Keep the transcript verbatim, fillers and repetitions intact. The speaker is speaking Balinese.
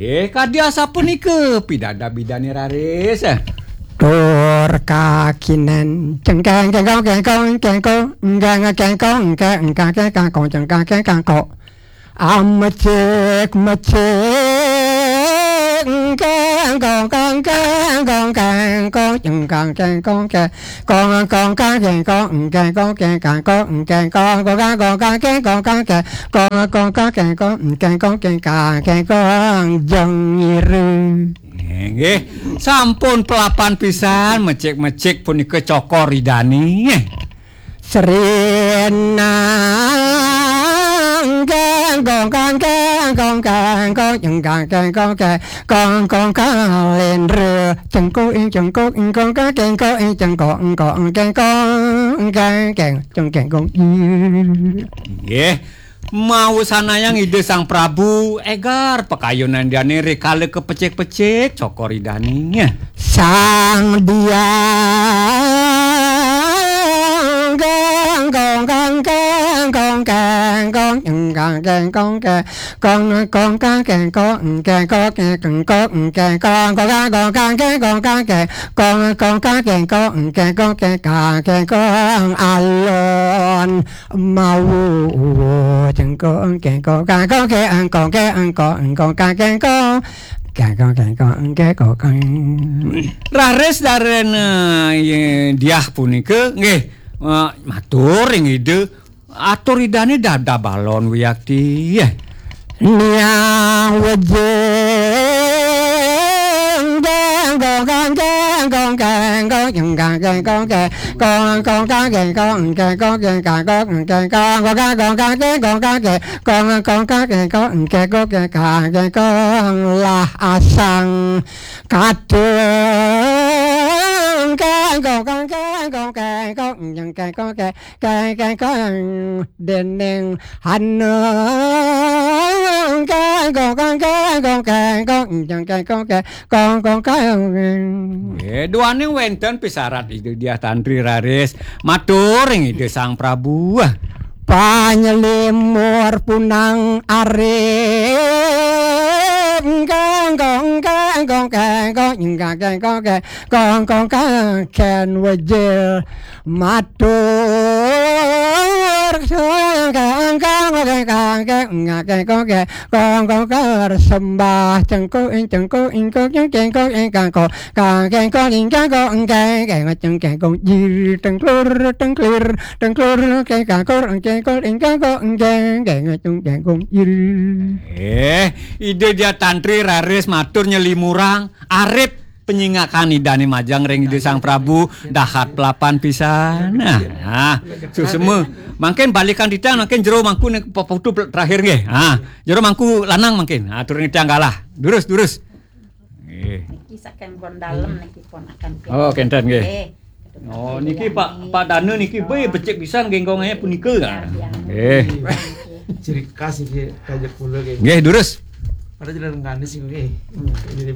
Eh, kadi asapunika pidabdab Idane raris. Tur kakinen, cengkeng, kengkong, kengkong, kengkong, enggeng, kengkong, engke, engkang, kengkang, kong, cengkang, kengkang, kok. Amecik, mecik, engkeng, kongkang, kengkong, kengkong, cengkang, kengkong, ke. Kong, kong, kang, keng, kong, keng, kong, keng, kong, kong, kang, kong, kang, keng, kong, kang, keng, kong, kong, kang, keng, kong, keng, kong, keng, kang, keng, kong, jeng iru. Nggih, sampun pelapan pisan mecik-mecik punika cokor Idane. Sri nang keng, kong, kang, keng, kong, keng, kong, jeng, kang, keng, kong, keng, kong, kong, kalendra, cengkok, ing, cengkok, ing, kong, kang, keng, kong, ing, cengkok, ing, kong, ing, keng, kong, ing, keng, keng, cengkeng, kong, ing. Nggih. Mawasanayang Ida Sang Prabu, egar pakayunan Idane rikala kapecik-pecik cokor Idane. Sang Diang, kang, kong, kang, keng, kong, keng, kong, ing, kang, keng, kong, keng, kong, kong, kang, keng, kong, ing, keng, kong, keng, kong, keng, kong, kong, kang, kong, kang, keng, kong, kang, keng, kong, kong, kang, keng, kong, ing, keng, kong, keng, kang, keng, kong, alon mawu, cengkong, keng, kong, kang, kong, keng, kong, keng, kong, kong, kang, keng, kong, keng, kong, keng, kong, keng, kong, keng. Raris daren, eh, diah punika, nggih, eh, matur ring Ida. Atur Idane dadab alon wiakti. Niang wejeng, keng, kong, kang, keng, kong, keng, kong, jeng, kang, keng, kong, keng, kong, kong, kang, keng, kong, keng, kong, keng, kong, keng, kong, kong, kang, kong, kang, keng, kong, kang, keng, kong, kong, kang, keng, kong, keng, kong, keng, kong, keng, kong, keng, kong, keng, kong, lah asang kateng, keng, kong, kang, keng, kong, keng, kong, jeng, keng, kong, keng, keng, keng, kong, dening hanung, keng, kong, kang, keng, kong, keng, kong, jeng, keng, kong, keng, kong, kong, keng. Nggih, duaning wenten pisarat Ida Diah Tantri raris matur ring Ida Sang Prabu. Panyelimur punang arep, keng, kong, keng, kong, keng, kong, keng, kong, keng, kong, kong, keng, ken wejil. Matur kang, kang, kang, kang, kang, kang, kang, kang, kang, kang, kang, kang, sembah cengkok, ing, cengkok, ingkok, ing, cengkok, ing, kangkok, kang, kengkok, ing, kangkok, ing, keng, keng, ceng, kengkong, jir, tengklur, tengklir, tengklur, keng, kangkor, ing, kengkor, ing, kangkok, ing, keng, keng, ceng, kengkong, jir. Eh, Ida Diah Tantri raris matur nyelimurang, arep penyingakan Idane majeng ring Ida Sang Prabu dahat pelapan pisan. Nah, nah, susema. Mangkin balikan titiang, mangkin jero mangku ning peputu terakhir nggih. Ah, jero mangku lanang mangkin. Ah, turun titiang galah. Durus, durus. Nggih. Niki saking pun dalem niki ponakan. Oh, kenten nggih. Nggih. Oh, niki Pak, Pak Danu niki, be, becik pisan genggongnya punika. Iya, iya. Nggih. Ciri khas iki kajak kula nggih. Nggih, durus. Pada jalan nganis iki nggih. Jadi